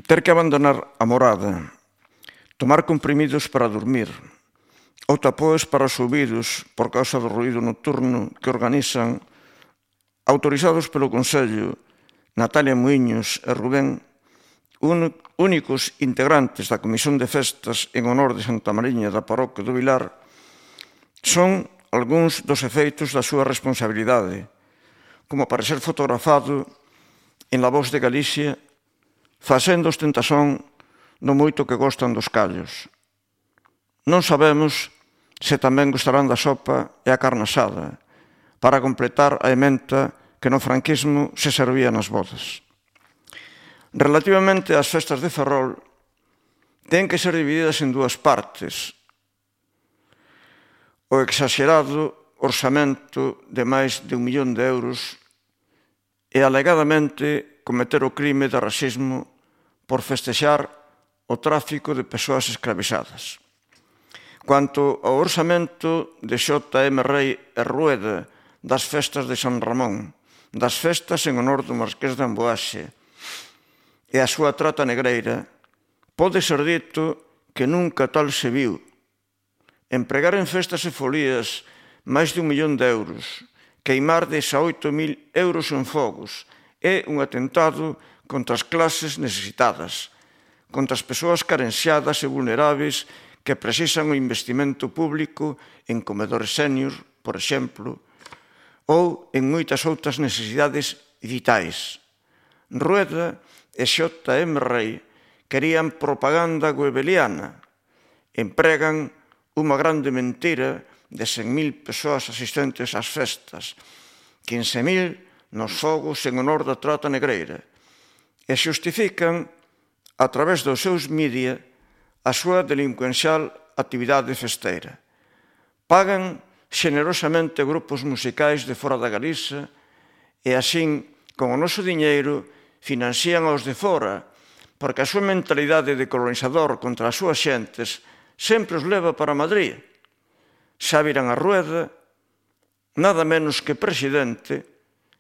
ter que abandonar a morada, tomar comprimidos para dormir, ou tapoes para os ouvidos por causa do ruído nocturno que organizan, autorizados polo Consello, Natalia Muiños e Rubén, únicos integrantes da Comisión de Festas en honor de Santa Mariña da Parroquia do Vilar, son algúns dos efeitos da súa responsabilidade, como para ser fotografado en La Voz de Galicia, facendo ostentación no moito que gostan dos callos. Non sabemos se tamén gostarán da sopa e a carne asada, para completar a ementa que no franquismo se servía nas bodas. Relativamente ás festas de Ferrol, ten que ser divididas en dúas partes. O exaxerado orzamento de máis de 1 millón de euros e alegadamente cometer o crime de racismo por festexar o tráfico de persoas escravizadas. Quanto ao orzamento de J.M. Rei e Rueda das festas de San Ramón, das festas en honor do Marqués de Amboaxe e a súa trata negreira, pode ser dito que nunca tal se viu. Empregar en festas e folías máis de 1 millón de euros, queimar 18.000 euros en fogos, é un atentado contra as clases necesitadas, contra as persoas carenciadas e vulneráveis que precisan o investimento público en comedores sénior, por exemplo, ou en moitas outras necesidades vitais. Rueda e J.M. Rei querían propaganda goebbeliana, empregan unha grande mentira de 100.000 persoas asistentes ás festas, 15.000 nos fogos en honor da trata negreira, e xustifican, a través dos seus media, a súa delincuencial actividade festeira. Pagan xenerosamente grupos musicais de fora da Galiza e, así, con o noso diñeiro, financian aos de fora, porque a súa mentalidade de colonizador contra as súas xentes sempre os leva para Madrid. Xa viran a Rueda, nada menos que presidente,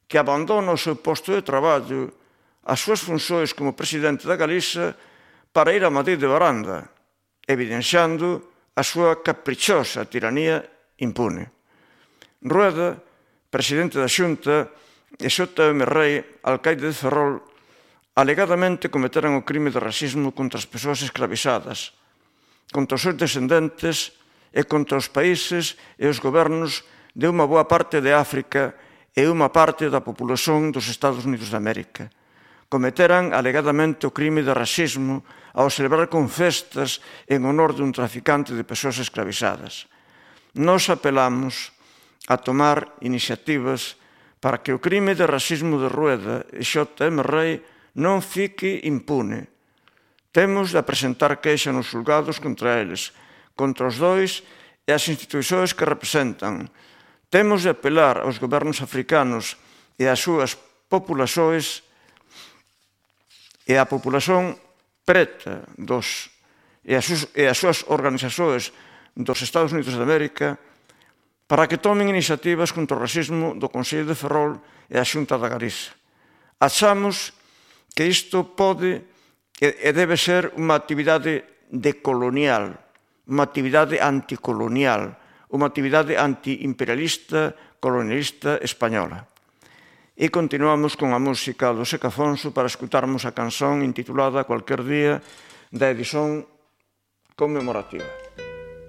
que abandona o seu posto de traballo, as súas funcións como presidente da Galiza, para ir a Madrid de baranda, evidenciando a súa caprichosa tiranía impune. Rueda, presidente da Xunta, e J.M. Rei, alcaide de Ferrol, alegadamente cometeran o crime de racismo contra as persoas escravizadas, contra os seus descendentes e contra os países e os gobernos de unha boa parte de África e unha parte da populación dos Estados Unidos de América. Cometeran alegadamente o crime de racismo ao celebrar con festas en honor dun traficante de persoas escravizadas. Nos apelamos a tomar iniciativas para que o crime de racismo de Rueda e J.M. Rei non fique impune. Temos de presentar queixa nos xulgados contra eles, contra os dois e as institucións que representan. Temos de apelar aos gobernos africanos e ás súas populações e á populación preta e as súas organizacións dos Estados Unidos de América para que tomen iniciativas contra o racismo do Consello de Ferrol e a Xunta da Galiza. Achamos que isto pode e debe ser unha actividade decolonial, unha actividade anticolonial, unha actividade antiimperialista, colonialista española. E continuamos con a música do Seca Afonso para escutarmos a canción intitulada Cualquier día da edición conmemorativa.